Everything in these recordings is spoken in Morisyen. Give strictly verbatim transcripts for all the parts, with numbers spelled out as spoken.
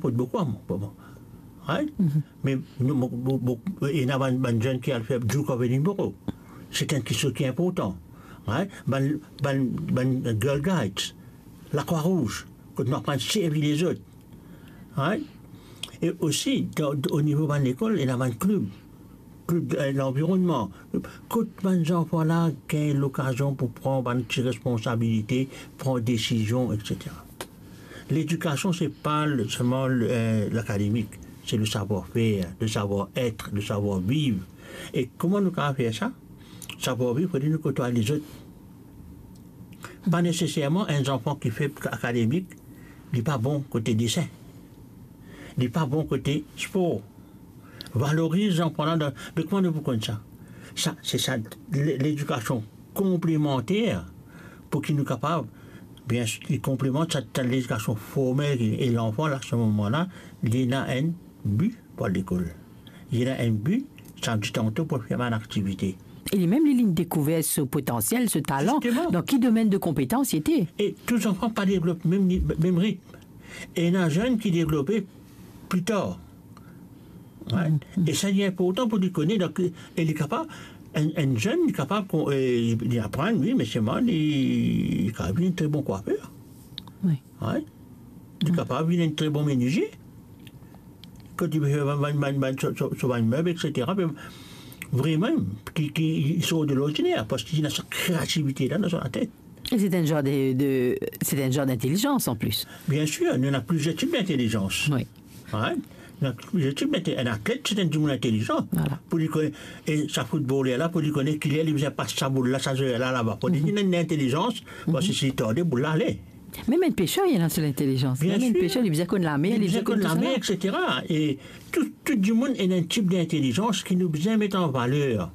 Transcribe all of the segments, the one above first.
Kot boukou, mo, mo, mo. Right? Me nou, mo, mo, mo, ena bann, bann zenn ki al fer Duke of Edinburgh. Se enn kiksoz ki inportan. Right? Bann, bann, bann Girl Guides, Lakrwa Rouz, kot nou aprann servi lezot. Right? E osi, dan, o nivo bann lekol, ena bann klib. Klib, eh, lanvironnman. Kot bann zanfan la gagn lokazion pou pran bann ti responsabilite, pran desizion, etsetera. Ledikasion, se pa le, selman le, eh, lakademik, se le savoir-faire, le savoir-être, le savoir-vivre. E kouma nou kapav fer sa? Savoir-vivre, fode nou kotway lezot. Pa neseserman enn zanfan ki feb akademik, li pa bon kote desin. Li pa bon kote spor. Valoriz zanfan la dan, me kouma nou pou konn sa? Sa, se sa, le, ledikasion konplemanter pou ki nou kapav, bien sir, li konplemant sa, sa ledikasion formel ki, e lanfan la, se moman la, li ena enn bi pou al lekol. Li ena enn bi, samdi tanto pou fer bann aktivite. E li mem, li, li dekouver so potansiel, so talan. Zisteman. Dan ki domenn de konpetans li ete? E tou zanfan pa devlop mem ni-, mem ritm. Ena zenn ki devlope pli tar. Right? E sa, li inportan pou li kone, donk, e li kapav, enn, enn zenn, li kapav kon-, e, li aprann, wi, me selman, li, li kapav vinn enn tre bon kwafer. Wi. Right? Li kapav vinn enn tre bon menizie. Kot li pe fer bann, bann, bann, bann, so, so, so bann meb, etsetera, me vreman, ki, ki, li sort de lordiner, parski li ena sa kreativite la dan so latet. Et c'est un genre de, de, c'est un genre d'intelligence en plus. Bien sir, nou ena plizier tip dintelizans. Wi. Right? Nou ena plizier tip dinte-, enn atlet, se enn dimoun intelizan. Vwala. Pou li kone, e sa foutboler la, pou li kone kiler li bizin pas sa boul la, sa zwer la, laba. Pou li ena enn intelizans, parski si li tarde, boul la ale. Mem enn peser, li ena so lintelizans. Bien sir. Mem enn peser, li bizin konn lamer, li bizin konn tousa la. Li bizin konn lamer, etsetera. E tou, tou dimoun ena enn tip dintelizans ki nou bizin met an valer.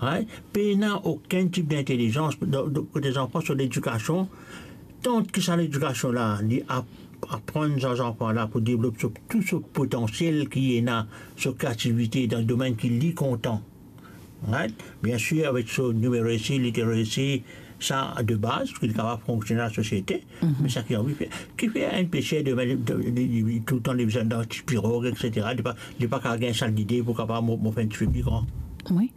Right? Pena okenn tip dintelizans, donk, donk, kote zanfan, so ledikasion, tan ki sa ledikasion la, li ap-, aprann sa zanfan la pou devlop so, tou so potansiel ki ena, so kreativite dan domenn ki li kontan. Right? Bien sir, avek so numeracy, literacy, sa de baz, ki li kapav fonksione dan lasosiete, me sa ki anvi fer. Kifer enn peser demin, li, li, li, toultan li bizin dan ti pirog, etsetera, li pa, li pa kapav gagn sa lide pou kapav mo-, mo fer enn tipe pli gran. Wi.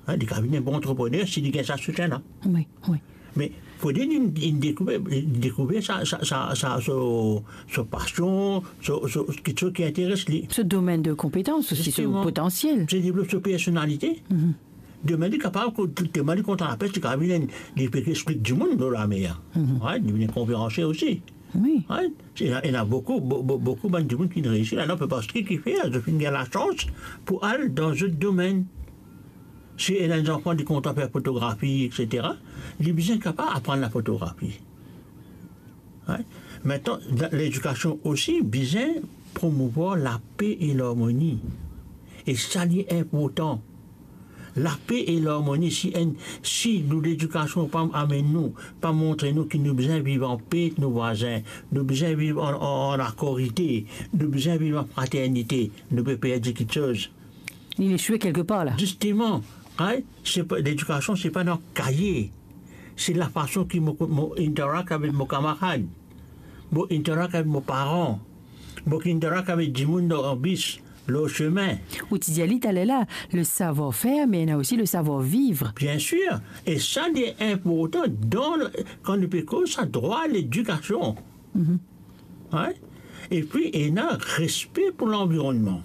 Hein, li kapav vinn enn bon antreprener si li gagn sa soutien la. Wi, wi. Me fode li, li dekouver, li dekouver sa, sa, sa, sa, so, so pasion, so, so, kiksoz ki interes li. So domenn de konpetans osi, so potansiel. Zisteman. Se devlop so personalite. Demin li kapav, ko-, telman li kontan lapes, li kapav vinn enn, li pe explik dimoun lor lamer. Right? Li vinn konferansie osi. Wi. Right? Ena, ena boukou, bo-, bo-, boukou bann dimoun ki reisi la, non, parski kifer, zot finn gagn lasans pou al dan zot domenn. Si ena enn zanfan li kontan fer fotografi, etsetera, li bizin kapav aprann lafotografi. Right? Aster, la-, ledikasion osi bizin promouvwar lape e larmoni. E sa li inportan. Lape e larmoni, si enn, si nou ledikasion pa amenn nou, pa montre nou ki nou bizin viv anpe ek nou vwazin, nou bizin viv an, an, an akorite, nou bizin viv an fraternite, nou pe perdi kiksoz. Li esoue kelkepar la. Zisteman, right? Se pa, ledikasion, se pa dan kaye. Se lafason ki mo, mo interact avek mo kamarad, mo interact avek mo paran, mo interact avek dimoun dan bis, lor sime. Ou ti dir li taler la, le savoir-faire, me ena osi le savoir-vivre. Bien sir. E sa, li inportan dan, kan nou pe koz sa drwa ledikasion. Hein? Epi, ena respe pou lanvironnman.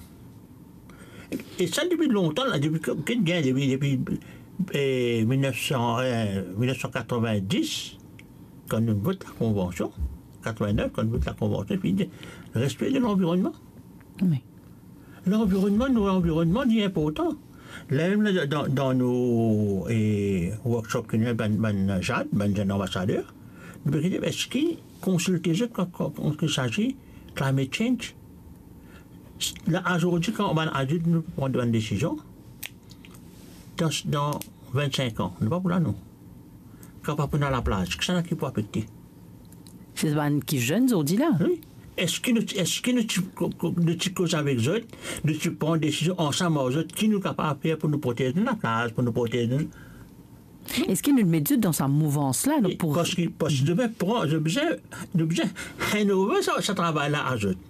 E sa, depi lontan la, depi ki, ki gagn, depi, depi, eh, mil nef san, eh, mil nef san katrovin-dis, kan nou vot lakonvansion, katrovin-nef, kan nou vot lakonvansion, epi li dir, respe de lanvironnman. Wi. Lanvironnman, nou lanvironnman, li inportan. Lamem la, dan, dan nou, eh, workshop ki nou, bann, bann ZAD, bann zenn anbasader, nou pe dir, eski konsilte zot kan, kan, kan il s'agit climate change? La, azordi, kan bann adilt nou pran bann desizion, dan, dan vinn-sink an, nou pa pou la, nou. Kan pa pou ena laplaz, kisannla ki pou afekte? Se bann ki zenn zordi la. Wi. Eski nou, eski nou ti, ko-, ko-, nou ti koz avek zot, nou ti pran desizion ansam ar zot, ki nou kapav fer pou nou protez nou laplaz, pou nou protez nou? Eski nou met zot dan sa mouvans la, donk, pou... Parski, parski nou bizin pran, nou bizin, nou bizin hand over sa, sa travay la ar zot.